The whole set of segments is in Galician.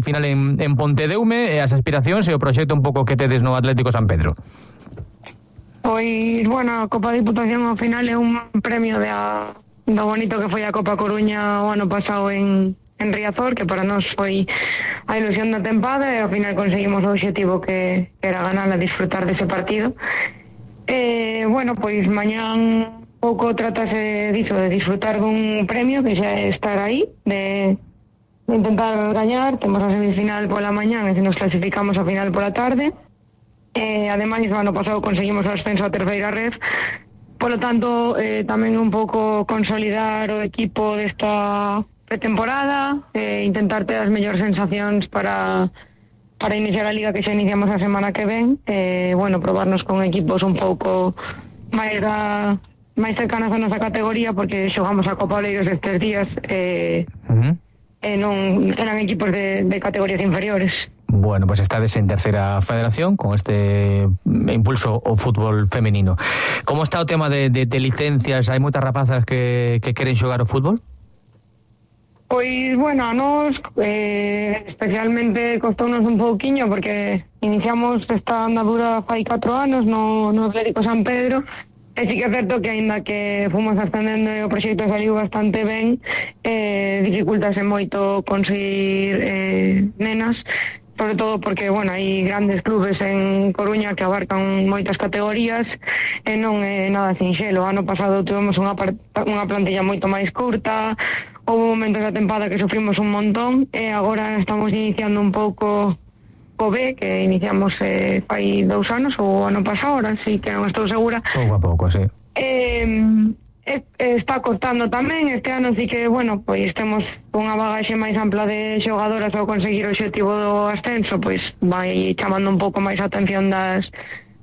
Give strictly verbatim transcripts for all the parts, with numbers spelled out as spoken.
final en, en Pontedeume, e as aspiracións e o proxecto un pouco que tedes no Atlético San Pedro. Pois, bueno, a Copa Diputación ao final é un premio de a, do bonito que foi a Copa Coruña o ano pasado en, en Riazor, que para nós foi a ilusión da tempada, e ao final conseguimos o obxectivo que, que era ganar a disfrutar dese partido. E, bueno, pois mañán pouco tratase diso, de disfrutar dun premio que xa é estar aí, de, de intentar gañar. Temos a semifinal pola mañán e se nos clasificamos a final pola tarde. Eh, ademais, o ano pasado conseguimos o ascenso a terceira red, polo tanto, eh, tamén un pouco consolidar o equipo desta pretemporada, eh, intentar ter as mellores sensacións para para iniciar a liga que xa iniciamos a semana que ven, eh, bueno, probarnos con equipos un pouco máis da máis cercanas a nosa categoría, porque xogamos a Copa Oleiros estes días, eh, uh-huh. e non eran equipos de, de categorías inferiores. Bueno, pues estades en terceira federación con este impulso ao fútbol femenino. Como está o tema de, de, de licencias? Hai moitas rapazas que, que queren xogar o fútbol? Pois, bueno, a nos eh, especialmente costounos un pouquiño, porque iniciamos esta andadura fai catro anos no, no Atlético San Pedro, e sí que é certo que aínda que fomos ascendendo e o proxecto saliu bastante ben, eh, dificultase moito conseguir eh, nenas, sobre todo porque, bueno, hai grandes clubes en Coruña que abarcan moitas categorías e non é nada sinxelo. O ano pasado tivemos unha, unha plantilla moito máis curta, houve momentos da tempada que sufrimos un montón, e agora estamos iniciando un pouco o B, que iniciamos eh, fai dous anos ou ano pasado, ahora sí que non estou segura. Pouco a pouco, sí. Eh, está costando tamén, este ano sí que, bueno, pois temos unha bagaxe máis ampla de xogadoras ao conseguir o obxectivo do ascenso, pois vai chamando un pouco máis a atención das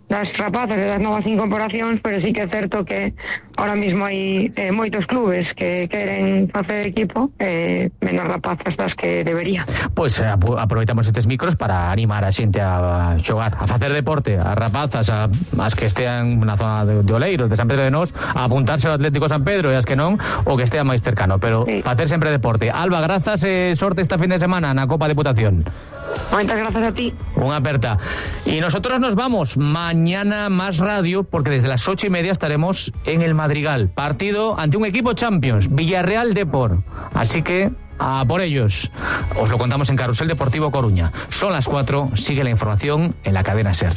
das rapazas e das novas incorporacións, pero sí que é certo que ahora mismo hai eh, moitos clubes que queren facer equipo, eh, menos rapazas das que debería. Pois pues, eh, aproveitamos estes micros para animar a xente a xogar, a facer deporte, a rapazas, a, as que estean na zona de, de Oleiros, de San Pedro de Nós, a apuntarse ao Atlético San Pedro, e as que non, o que estea máis cercano, pero sí, facer sempre deporte. Alba, grazas e eh, sorte esta fin de semana na Copa Diputación. Muchas gracias a ti. Una aperta. Y nosotros nos vamos mañana más radio, porque desde las ocho y media estaremos en el Madrigal, partido ante un equipo Champions, Villarreal Depor. Así que a por ellos. Os lo contamos en Carrusel Deportivo Coruña. Son las cuatro, sigue la información en la cadena SER.